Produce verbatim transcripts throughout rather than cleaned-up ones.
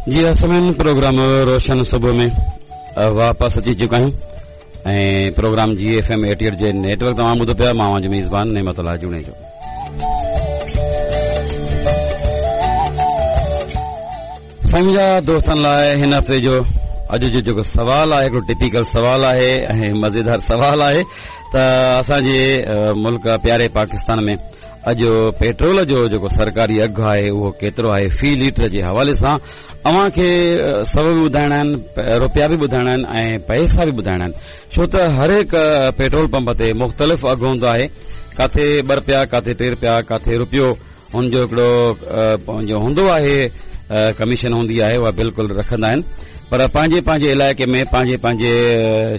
जी असमिन programme रोशन सुबह में वापस अची चुका आहियूं ऐं प्रोग्राम जी एफ एम अठाहठ जे नेटवर्क तव्हां ॿुधो पिया। मां जो मेज़बान नेमतुल्लाह जुणेजो। साईं जा दोस्तनि लाइ हिन हफ़्ते जो अॼु जो जेको सवाल आहे, हिकिड़ो टिपिकल सवाल आहे ऐं मज़ेदार सवाल आहे त असांजे मुल्क प्यारे पाकिस्तान में अॼु पेट्रोल जो जेको सरकारी अघु आहे उहो केतिरो आहे फ़ी लीटर जे हवाले सां। अव्हांखे सव बि ॿुधाइणा आहिनि, रुपया बि ॿुधाइणा आहिनि ऐं पैसा बि ॿुधाइणा आहिनि, छो त हर हिकु पेट्रोल पंप ते मुख़्तलिफ़ अघु हूंदो आहे। काथे ॿ रुपया, काथे टे रुपया, काथे रुपयो, हुनजो हिकिड़ो पंहिंजो हूंदो आहे, कमीशन हूंदी आहे, उहा बिल्कुलु रखंदा आहिनि। पर पंहिंजे पंहिंजे इलाइक़े में पंहिंजे पंहिंजे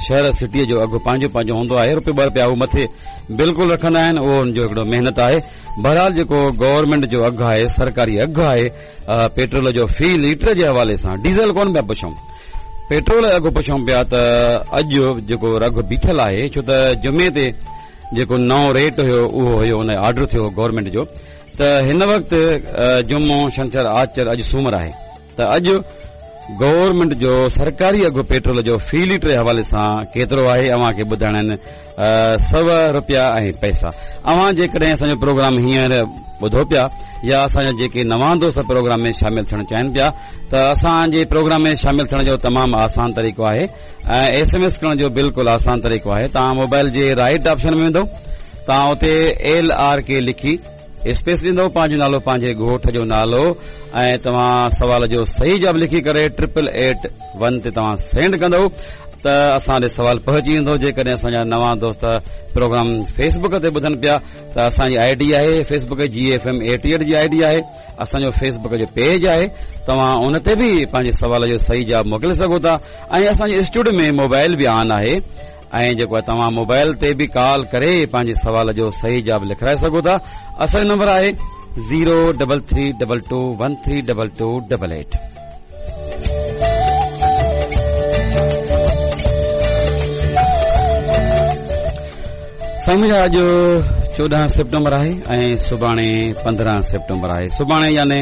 शहर सिटीअ जो अघु पंहिंजो पंहिंजो हूंदो आहे। रुपयो ॿ रुपया उहो मथे बिल्कुलु रखंदा आहिनि, उहो हुनजो हिकिड़ो महिनत आहे। बहरहाल जेको गवर्नमेंट जो अघु आहे, सरकारी अघु आहे पेट्रोल जो फ़ी लीटर जे हवाले सां, डीज़ल कोन पिया पुछूं, पेट्रोल जो अघु पुछूं पिया त अॼु जेको अघु बीठल आहे, छो त जुमे ते जेको नओं रेट हुयो उहो हुयो, हुन आर्डर थियो गवर्नमेंट जो, त हिन वक़्तु जुमो, छंछर, आचर, अॼु सूमर आहे, त अॼु गवर्नमेंट जो सरकारी अघु पेट्रोल जो फ़ी लीटर जे हवाले सां केतिरो आहे अव्हांखे ॿुधाइणा आहिनि सव रुपया ऐं पैसा। अव्हां जेकॾहिं असांजो प्रोग्राम हींअर ॿुधो पिया या असांजा जेके नवां दोस्त प्रोग्राम में शामिल थियणु चाहिनि पिया त असांजे प्रोग्राम में शामिल थियण जो तमामु आसान तरीक़ो आहे ऐं एस एम एस करण जो बिल्कुलु आसान तरीक़ो आहे। तव्हां मोबाइल जे राइट ऑप्शन में वेंदव, तव्हां उते एल आर के लिखी स्पेस ॾींदव, पंहिंजो नालो, पंहिंजे ॻोठ जो नालो ऐं तव्हां सवाल जो सही जवाब लिखी करे ट्रिपल एट वन ते तव्हां सेंड कंदव त असां ॾे सवाल पहुची वेंदो। जेकॾहिं असांजा नवां दोस्त प्रोग्राम फेसबुक ते ॿुधनि पिया त असांजी I D आहे फेसबुक जी एफ एम अठाहठ जी I D आहे, असांजो फेसबुक जो पेज आहे, तव्हां उन ते बि पंहिंजे सवाल जो सही जवाब मोकिले सघो था। ऐं असांजे स्टूडियो में मोबाइल बि ऑन आहे ऐं जेको आहे तव्हां मोबाइल ते बि कॉल करे पंहिंजे सवाल जो सही जवाब लिखाराए सघो था। असांजो नंबर आहे zero double three double two one three double two double eight. साईं मुंहिंजा अॼु चोॾहं सेप्टेम्बर आहे ऐं सुभाणे पंद्रहं सेप्टेम्बर आहे। सुभाणे यानी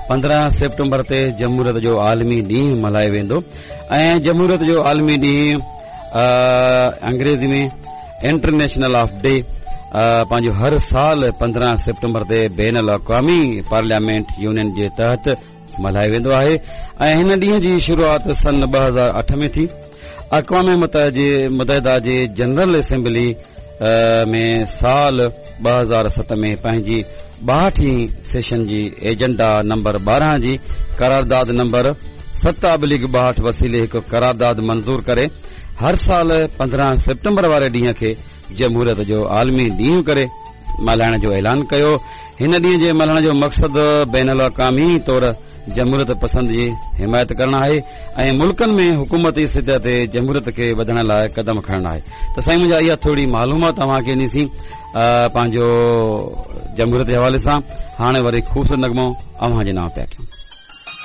पंद्रहं सेप्टेम्बर ते जमहूरियत जो आलमी ॾींहुं मल्हायो वेंदो ऐं जमहूरियत जो आलमी ॾींहुं अंग्रेज़ी में इंटरनेशनल ऑफ डे पंहिंजो हर साल पंद्रहं सेप्टेम्बर ते बैन अल अक़वामी पार्लियामेंट यूनियन जे तहत मल्हायो वेंदो आहे ऐं हिन ॾींहं जी शुरूआत सन ॿ हज़ार अठ में थी। अक़वाम मुत्तहिदा जे जनरल असेंबली में साल ॿ हज़ार सत में पंहिंजी ॿाहठीं सेशन जी एजेंडा नंबर ॿारहं जी करारदाद नंबर सत अबलिग ॿाहठि वसीले हिकु करारदाद मंज़ूर करे हर साल पंद्रहं सेप्टेम्बर वारे ॾींहं खे जमहूरियत जो आलमी ॾींहुं करे मल्हाइण जो ऐलान कयो। हिन ॾींहं जे मल्हाइण जो मक़सदु बैन अल अक़वामी तौर जमहूरियत पसंद जी हिमायत करणु आहे ऐं मुल्कनि में हुकूमती सतह ते जमहूरियत खे वधण लाइ कदम खणणु आहे। त साईं मुंहिंजा इहा थोरी मालूमात तव्हांखे ॾिनीसीं पंहिंजो जमहूरियत जे हवाले सां। हाणे वरी ख़ूबसूरत नग़मो अव्हां जे नांव पिया कयूं।